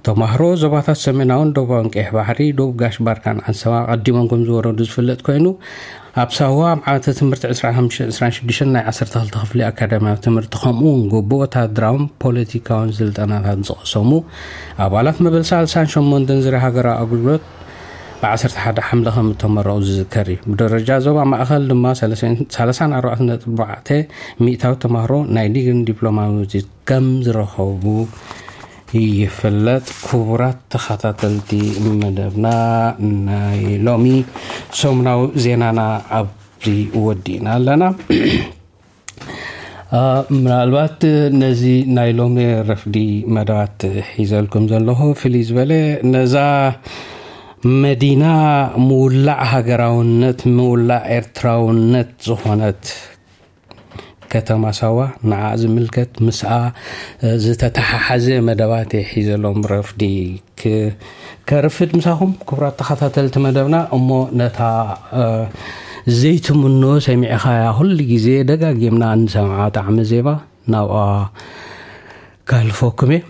ተማህሮ ዞባታት ሰሜናውን ደቡባውን ቀይሕ ባሕሪ፣ ደቡብ ጋሽ ባርካን ዓንሰባ ኣቐዲሞም ከም ዝወረዱ ዝፍለጥ ኮይኑ፣ ኣብ ሳዋ ኣብ ዓመተ ትምህርቲ ዕስራን ሓሙሽተን ዕስራን ሽዱሽተን ናይ ዓሰርተ ክልተ ክፍሊ ኣካዳሚያዊ ትምህርቲ፣ ከምኡ እውን ግቡእ ወታደራውን ፖለቲካውን ስልጠናታት ዝቐሰሙ ኣባላት መበል ሳልሳን ሸሞንተን ዝርያ ሃገራዊ ኣገልግሎት ብ ዓሰርተ ሓደ ሓምለ ከም እተመረቑ ዝዝከር እዩ። ብደረጃ ዞባ ማእኸል ድማ ሰላሳን ኣርባዕተን ነጥቢ ኣርባዕተ ሚእታዊ ተማህሮ ናይ ዲግሪን ዲፕሎማን ውፅኢት ከም ዝረኸቡ ይፍለጥ። ክቡራት ተኸታተልቲ መደብና፣ ናይ ሎሚ ሰሙናዊ ዜናና ኣብዚ ወዲእና ኣለና። አ፣ ምናልባት ነዚ ናይ ሎሚ ረፍዲ መደባት ሒዘልኩም ዘለኹ ፍልይ ዝበለ ነዛ መዲና ምውላዕ ሃገራውነት፣ ምውላዕ ኤርትራውነት ዝኾነት ከተማ ሳዋ፣ ንዓ ዝምልከት ምስኣ ዝተተሓሓዘ መደባት እየ ሒዘሎም ረፍዲ ክ-፣ ከርፍድ ምሳኹም ክቡራት ተኸታተልቲ መደብና። እሞ ነታ ዘይትምኖ ሰሚዕኻያ፣ ኩሉ ግዜ ደጋጊምና እንሰምዓ ጣዕሚ ዜማ ናብኣ ካልፎኩም እየ።